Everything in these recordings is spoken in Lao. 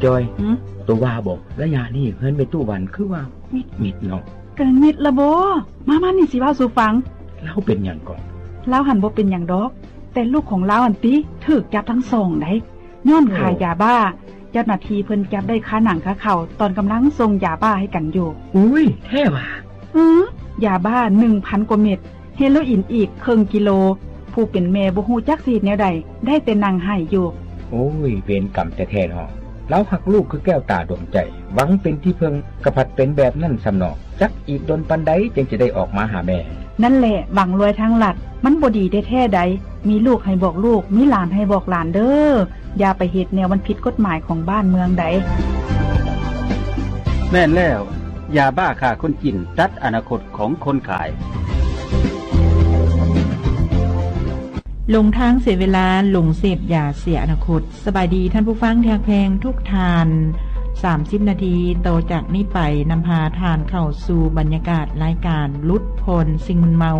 ຈອຍ ຫື? ໂຕວ່າບໍ່ ໄລຍະນີ້ເຮືອນແມ່ຕູ້ວັນຄືວ່າມິດໆເນາະ. ກະມິດລະບໍ? ມາໆ ນີ້ຊິເວົ້າສູ່ຟັງ. ລາວເປັນຫຍັງເກາະ? ລາວຫັ້ນບໍ່ເປັນຫຍັງດອກ, ແຕ່ລູກຂອງລາວຫັ້ນຕິ ຖືກຈັບທັງສອງໃດ໋ ຍ້ອນຂາຍ ໂອ້ ຢາບ້າ. ເຈົ້າໜ້າທີ່ເພິ່ນຈັບໄດ້ຄາໜັງຄາເຂົາ ຕອນກຳລັງສົ່ງຢາບ້າໃຫ້ກັນຢູ່. ອຸ້ຍ ແທ້ຫວາ? ອື ຢາບ້າໜຶ່ງພັນກວ່າເມັດ, ເຮໂລອີນອີກເຄິ່ງກິໂລ. ຜູ້ເປັນແມ່ບໍ່ຮູ້ຈັກຊິເຮັດແນວໃດ, ໄດ້ແຕ່ນັ່ງໄຫ້ຢູ່. ໂອ້ຍ ເວນກຳແທ້ໆເນາະ. ລາວຮັກລູກຄືແກ້ວຕາດວງໃຈ, ຫວັງເປັນທີ່ເພິ່ງ, ກະພັດເປັນແບບນັ້ນຊ້ຳເນາະ. ຈັກອີກດົນປານໃດຈຶ່ງຈະໄດ້ອອກມາຫາແມ່? ນັ້ນແຫຼະ ຫວັງລວຍທາງລັດ, ມັນບໍ່ດີແທ້ໆໃດ. ມີລູກໃຫ້ບອກລູກ, ມີຫຼານໃຫ້ບອກຫຼານເດີ້. ຢ່າໄປເຮັດແນວມັນຜິດກົດໝາຍຂອງບ້ານເມືອງໃດ. ແມ່ນແລ້ວ, ຢາບ້າຂ້າຄົນຈີນ ຕັດອະນາຄົດຂອງຄົນຂາຍ. ຫຼົງທາງເສຍເວລາ, ຫຼົງເສບຢາເສຍອະນາຄົດ. ສະບາຍດີທ່ານຜູ້ຟັງທີ່ຮັກແພງທຸກທ່ານ. ສາມສິບນາທີຕໍ່ຈາກນີ້ໄປ ນຳພາທ່ານເຂົ້າສູ່ບັນຍາກາດລາຍການຫຼຸດຜ່ອນສິ່ງມຶນເມົາ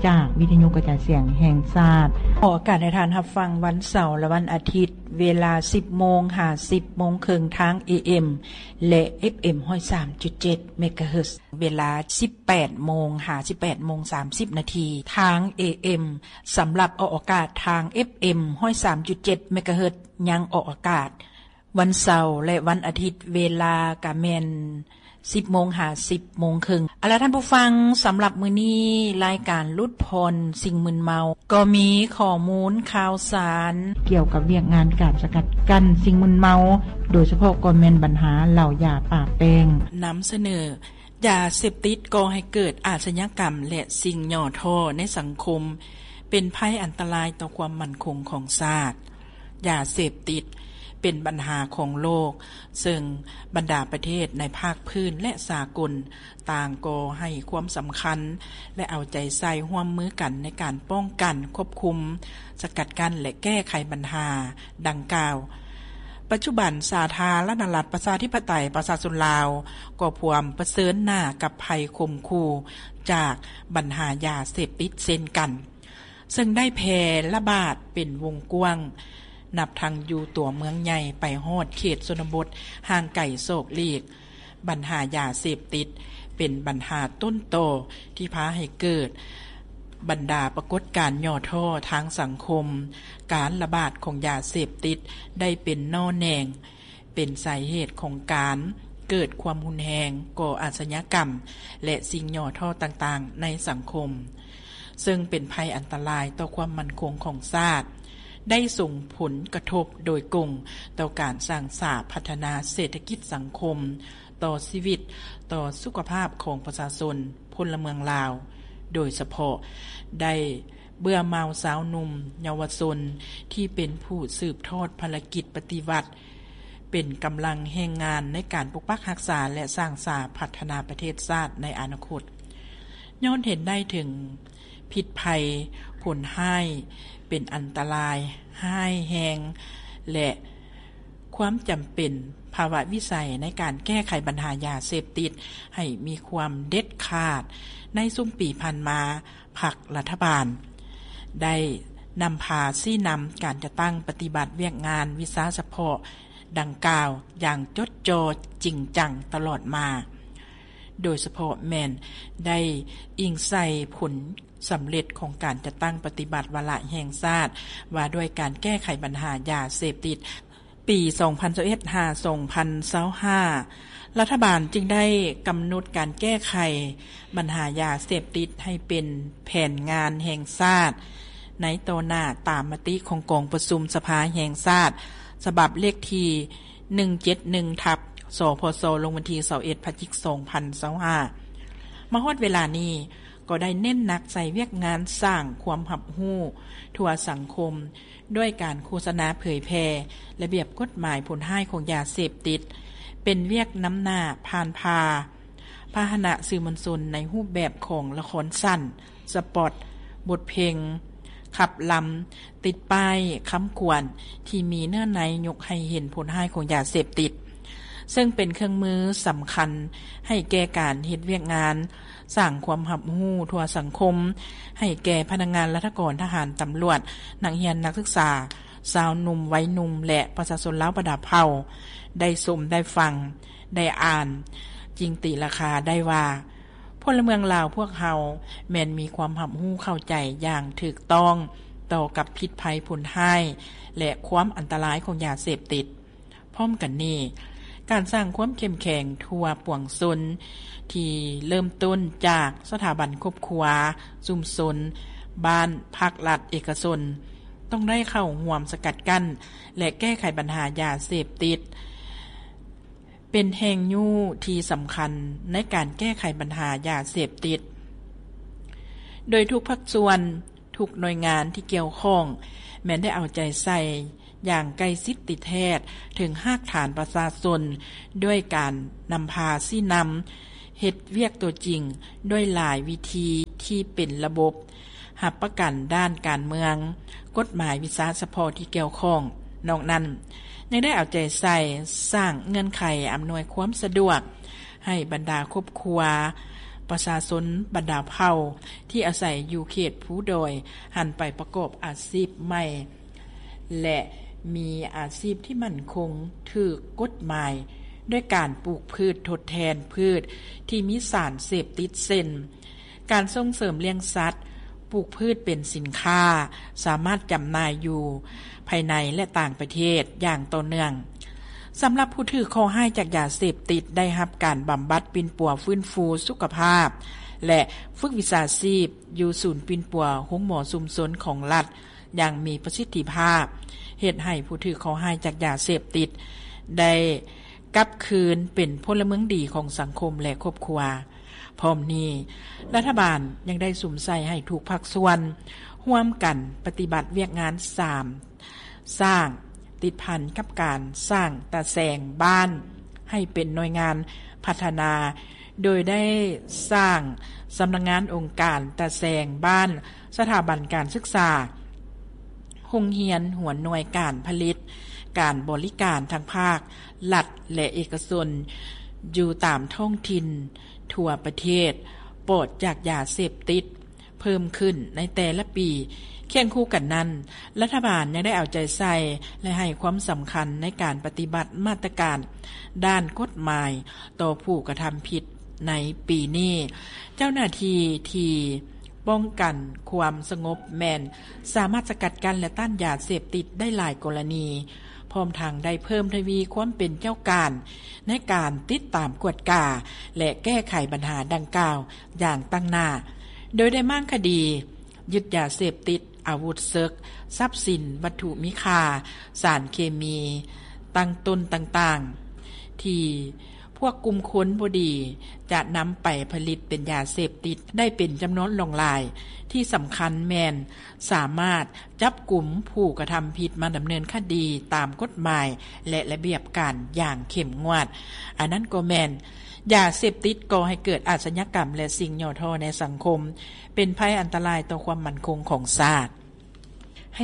ຈາກວິທະຍຸກະຈາຍສຽງແຫ່ງຊາດ. ອອກອາກາດໃຫ້ທ່ານຮັບຟັງວັນເສົາ ແລະ ວັນອາທິດ ເວລາສິບໂມງຫາສິບໂມງເຄິ່ງ ທາງ ເອເອັມ ແລະ ເອັຟເອັມ ຮ້ອຍສາມຈຸດເຈັດ ເມກາເຮີດ, ເວລາສິບແປດໂມງຫາສິບແປດໂມງສາມສິບນາທີ ທາງ ເອເອັມ. ສຳລັບອອກອາກາດທາງ ເອັຟເອັມ ຮ້ອຍສາມຈຸດເຈັດ ເມກາເຮີດ ຍັງອອກອາກາດວັນເສົາ ແລະ ວັນອາທິດ, ເວລາກະແມ່ນສິບໂມງຫາສິບໂມງເຄິ່ງ. ເອົາລະທ່ານຜູ້ຟັງ, ສຳລັບມື້ນີ້ລາຍການຫຼຸດຜ່ອນສິ່ງມຶນເມົາ ກໍມີຂໍ້ມູນຂ່າວສານກ່ຽວກັບວຽກງານການສະກັດກັ້ນສິ່ງມຶນເມົາ, ໂດຍສະເພາະກໍແມ່ນບັນຫາເຫຼົ້າຢາປາແປ້ງ. ນຳສະເໜີ: ຢາເສບຕິດກໍ່ໃຫ້ເກີດອາຊະຍາກຳ ແລະ ສິ່ງຫຍໍ້ທໍ້ໃນສັງຄົມ, ເປັນໄພອັນຕະລາຍຕໍ່ຄວາມໝັ້ນຄົງຂອງຊາດ. ຢາເສບຕິດເປັນບັນຫາຂອງໂລກ, ເຊິ່ງບັນດາປະເທດໃນພາກພື້ນ ແລະ ສາກົນ ຕ່າງກໍໃຫ້ຄວາມສຳຄັນ ແລະ ເອົາໃຈໃສ່ຮ່ວມມືກັນໃນການປ້ອງກັນ, ຄວບຄຸມ, ສະກັດກັ້ນ ແລະ ແກ້ໄຂບັນຫາດັ່ງກ່າວ. ປັດຈຸບັນ ສາທາລະນະລັດ ປະຊາທິປະໄຕ ປະຊາຊົນລາວ ກໍພວມປະເຊີນໜ້າກັບໄພຂົ່ມຂູ່ຈາກບັນຫາຢາເສບຕິດເຊັ່ນກັນ. ເຊິ່ງໄດ້ແຜ່ລະບາດເປັນວົງກວ້າງ, ນັບທັງຢູ່ຕົວເມືອງໃຫຍ່ໄປຮອດເຂດຊົນນະບົດຫ່າງໄກສອກຫຼີກ. ບັນຫາຢາເສບຕິດເປັນບັນຫາຕົ້ນຕໍທີ່ພາໃຫ້ເກີດບັນດາປາກົດການຫຍໍ້ທໍ້ທາງສັງຄົມ. ການລະບາດຂອງຢາເສບຕິດໄດ້ເປັນໜໍ່ແໜງ ເປັນສາເຫດຂອງການເກີດຄວາມຮຸນແຮງ, ກໍ່ອາຊະຍາກຳ ແລະ ສິ່ງຫຍໍ້ທໍ້ຕ່າງໆໃນສັງຄົມ, ເຊິ່ງເປັນໄພອັນຕະລາຍຕໍ່ຄວາມໝັ້ນຄົງຂອງຊາດ, ໄດ້ສົ່ງຜົນກະທົບໂດຍກົງຕໍ່ການສ້າງສາພັດທະນາເສດຖະກິດສັງຄົມ, ຕໍ່ຊີວິດ, ຕໍ່ສຸຂະພາບຂອງປະຊາຊົນ, ພົນລະເມືອງລາວ, ໂດຍສະເພາະໄດ້ເບື່ອເມົາຊາວໜຸ່ມເຍົາວະຊົນທີ່ເປັນຜູ້ສືບທອດພາລະກິດປະຕິວັດ, ເປັນກຳລັງແຮງງານໃນການປົກປັກຮັກສາ ແລະ ສ້າງສາພັດທະນາປະເທດຊາດໃນອະນາຄົດ. ຍ້ອນເຫັນໄດ້ເຖິງພິດໄພ, ຜົນຮ້າຍ, ເປັນອັນຕະລາຍ, ຮ້າຍແຮງ ແລະ ຄວາມຈຳເປັນ, ພາວະວິໄສໃນການແກ້ໄຂບັນຫາຢາເສບຕິດໃຫ້ມີຄວາມເດັດຂາດ, ໃນຊຸມປີຜ່ານມາ, ພັກລັດຖະບານໄດ້ນຳພາຊີ້ນຳການຈັດຕັ້ງປະຕິບັດວຽກງານວິຊາສະເພາະດັ່ງກ່າວຢ່າງຈົດຈ່ອຈິງຈັງຕະຫຼອດມາ, ໂດຍສະເພາະແມ່ນໄດ້ອີງໃສ່ຜົນສຳເລັດຂອງການຈັດຕັ້ງປະຕິບັດວາລະແຫ່ງຊາດວ່າດ້ວຍການແກ້ໄຂບັນຫາຢາເສບຕິດ ປີສອງພັນຊາວເອັດຫາສອງພັນຊາວຫ້າ ລັດຖະບານຈຶ່ງໄດ້ກຳນົດການແກ້ໄຂບັນຫາຢາເສບຕິດໃຫ້ເປັນແຜນງານແຫ່ງຊາດໃນຕໍ່ໜ້າ ຕາມມະຕິຂອງກອງປະຊຸມສະພາແຫ່ງຊາດ ສະບັບເລກທີໜຶ່ງເຈັດໜຶ່ງ ທັບ ສພຊ ລົງວັນທີຊາວເອັດ ພະຈິກ ສອງພັນຊາວຫ້າ. ມາຮອດເວລານີ້ ກໍໄດ້ເນັ້ນໜັກໃສ່ວຽກງານສ້າງຄວາມຮັບຮູ້ທົ່ວສັງຄົມ ດ້ວຍການໂຄສະນາເຜີຍແຜ່ລະບຽບກົດໝາຍຜົນຮ້າຍຂອງຢາເສບຕິດ, ເປັນວຽກນຳໜ້າຜ່ານພາພາຫະນະສື່ມວນຊົນໃນຮູບແບບຂອງລະຄອນສັ້ນ, ສະປອດ, ບົດເພງ, ຂັບລຳ, ຕິດປ້າຍຄຳຂວັນທີ່ມີເນື້ອໃນຍົກໃຫ້ເຫັນຜົນຮ້າຍຂອງຢາເສບຕິດ, ເຊິ່ງເປັນເຄື່ອງມືສຳຄັນໃຫ້ແກ່ການເຮັດວຽກງານສ້າງຄວາມຮັບຮູ້ທົ່ວສັງຄົມ ໃຫ້ແກ່ພະນັກງານລັດຖະກອນ, ທະຫານ, ຕຳຫຼວດ, ນັກຮຽນ, ນັກສຶກສາ, ຊາວໜຸ່ມ ໄວໜຸ່ມ ແລະ ປະຊາຊົນລາວບັນດາເຜົ່າ ໄດ້ຊົມ ໄດ້ຟັງ ໄດ້ອ່ານ ຈຶ່ງຕີລາຄາໄດ້ວ່າ ພົນລະເມືອງລາວພວກເຮົາ ແມ່ນມີຄວາມຮັບຮູ້ເຂົ້າໃຈຢ່າງຖືກຕ້ອງ ຕໍ່ກັບພິດໄພຜົນຮ້າຍ ແລະ ຄວາມອັນຕະລາຍຂອງຢາເສບຕິດ. ພ້ອມກັນນີ້, ການສ້າງຄວາມເຂັ້ມແຂງທົ່ວປວງຊົນ ທີ່ເລີ່ມຕົ້ນຈາກສະຖາບັນຄອບຄົວ, ຊຸມຊົນ, ບ້ານ, ພາກລັດ, ເອກະຊົນ ຕ້ອງໄດ້ເຂົ້າຮ່ວມສະກັດກັ້ນ ແລະ ແກ້ໄຂບັນຫາຢາເສບຕິດ ເປັນແຮງຍູ້ທີ່ສຳຄັນໃນການແກ້ໄຂບັນຫາຢາເສບຕິດ, ໂດຍທຸກພາກສ່ວນ, ທຸກໜ່ວຍງານທີ່ກ່ຽວຂ້ອງ ແມ່ນໄດ້ເອົາໃຈໃສ່ຢ່າງໃກ້ຊິດຕິດແທດເຖິງຮາກຖານປະຊາຊົນ ດ້ວຍການນຳພາຊີ້ນຳ ເຮັດວຽກຕົວຈິງດ້ວຍຫຼາຍວິທີທີ່ເປັນລະບົບ, ຮັບປະກັນດ້ານການເມືອງ, ກົດໝາຍ, ວິຊາສະເພາະທີ່ກ່ຽວຂ້ອງ. ນອກນັ້ນ, ຍັງໄດ້ເອົາໃຈໃສ່ສ້າງເງື່ອນໄຂອຳນວຍຄວາມສະດວກໃຫ້ບັນດາຄອບຄົວ, ປະຊາຊົນບັນດາເຜົ່າທີ່ອາໄສຢູ່ເຂດພູດອຍ ຫັນໄປປະກອບອາຊີບໃໝ່ ແລະ ມີອາຊີບທີ່ໝັ້ນຄົງ, ຖືກກົດໝາຍ ດ້ວຍການປູກພືດທົດແທນພືດທີ່ມີສານເສບຕິດ ເຊັ່ນ ການສົ່ງເສີມລ້ຽງສັດ, ປູກພືດເປັນສິນຄ້າ ສາມາດຈຳໜ່າຍຢູ່ພາຍໃນ ແລະ ຕ່າງປະເທດຢ່າງຕໍ່ເນື່ອງ. ສຳລັບຜູ້ຖືກເຄາະຮ້າຍຈາກຢາເສບຕິດ ໄດ້ຮັບການບຳບັດປິ່ນປົວຟື້ນຟູສຸຂະພາບ ແລະ ຝຶກວິຊາຊີບຢູ່ສູນປິ່ນປົວໂຮງໝໍຊຸມຊົນຂອງລັດ ຢ່າງມີປະສິດທິພາບ, ເຮັດໃຫ້ຜູ້ຖືກເຄາະຮ້າຍຈາກຢາເສບຕິດ ໄດ້ກັບຄືນເປັນພົນລະເມືອງດີຂອງສັງຄົມ ແລະ ຄອບຄົວ. ພ້ອມນີ້, ລັດຖະບານຍັງໄດ້ສຸມໃສ່ໃຫ້ທຸກພາກສ່ວນຮ່ວມກັນປະຕິບັດວຽກງານສາມ ສ້າງ ຕິດພັນກັບການສ້າງຕາແສງບ້ານໃຫ້ເປັນໜ່ວຍງານພັດທະນາ ໂດຍໄດ້ສ້າງສຳນັກງານອົງການຕາແສງບ້ານ, ສະຖາບັນການສຶກສາ, ໂຮງຮຽນ, ຫົວໜ່ວຍການຜະລິດ, ການບໍລິການທັງພາກລັດ ແລະ ເອກະຊົນ ຢູ່ຕາມທ້ອງຖິ່ນທົ່ວປະເທດ ປອດຈາກຢາເສບຕິດ ເພີ່ມຂຶ້ນໃນແຕ່ລະປີ. ຄຽງຄູ່ກັນນັ້ນ, ລັດຖະບານຍັງໄດ້ເອົາໃຈໃສ່ ແລະ ໃຫ້ຄວາມສຳຄັນໃນການປະຕິບັດມາດຕະການດ້ານກົດໝາຍຕໍ່ຜູ້ກະທຳຜິດໃນປີນີ້. ເຈົ້າໜ້າທີ່ທີ່ປ້ອງກັນຄວາມສະຫງົບແມ່ນສາມາດສະກັດກັ້ນ ແລະ ຕ້ານຢາເສບຕິດໄດ້ຫຼາຍກໍລະນີ, ພ້ອມທັງໄດ້ເພີ່ມທະວີຄວາມເປັນເຈົ້າການໃນການຕິດຕາມກວດກາ ແລະ ແກ້ໄຂບັນຫາດັ່ງກ່າວ ຢ່າງຕັ້ງໜ້າ, ໂດຍໄດ້ມ້າງຄະດີ, ຍຶດຢາເສບຕິດ, ອາວຸດເສິກ, ຊັບສິນວັດຖຸມີຄ່າ, ສານເຄມີຕັ້ງຕົ້ນຕ່າງໆ ທີ່ພວກກຸ່ມຄົນບໍ່ດີຈະນຳໄປຜະລິດເປັນຢາເສບຕິດໄດ້ເປັນຈຳນວນຫຼວງຫຼາຍ. ທີ່ສຳຄັນແມ່ນສາມາດ ຈັບກຸມຜູ້ກະທຳຜິດມາດຳເນີນຄະດີຕາມກົດໝາຍ ແລະ ລະບຽບການຢ່າງເຂັ້ມງວດ. ອັນນັ້ນກໍແມ່ນ ຢາເສບຕິດກໍ່ໃຫ້ເກີດອາຊະຍາກຳ ແລະ ສິ່ງຫຍໍ້ທໍ້ໃນສັງຄົມ, ເປັນໄພອັນຕະລາຍຕໍ່ຄວາມໝັ້ນຄົງຂອງຊາດ.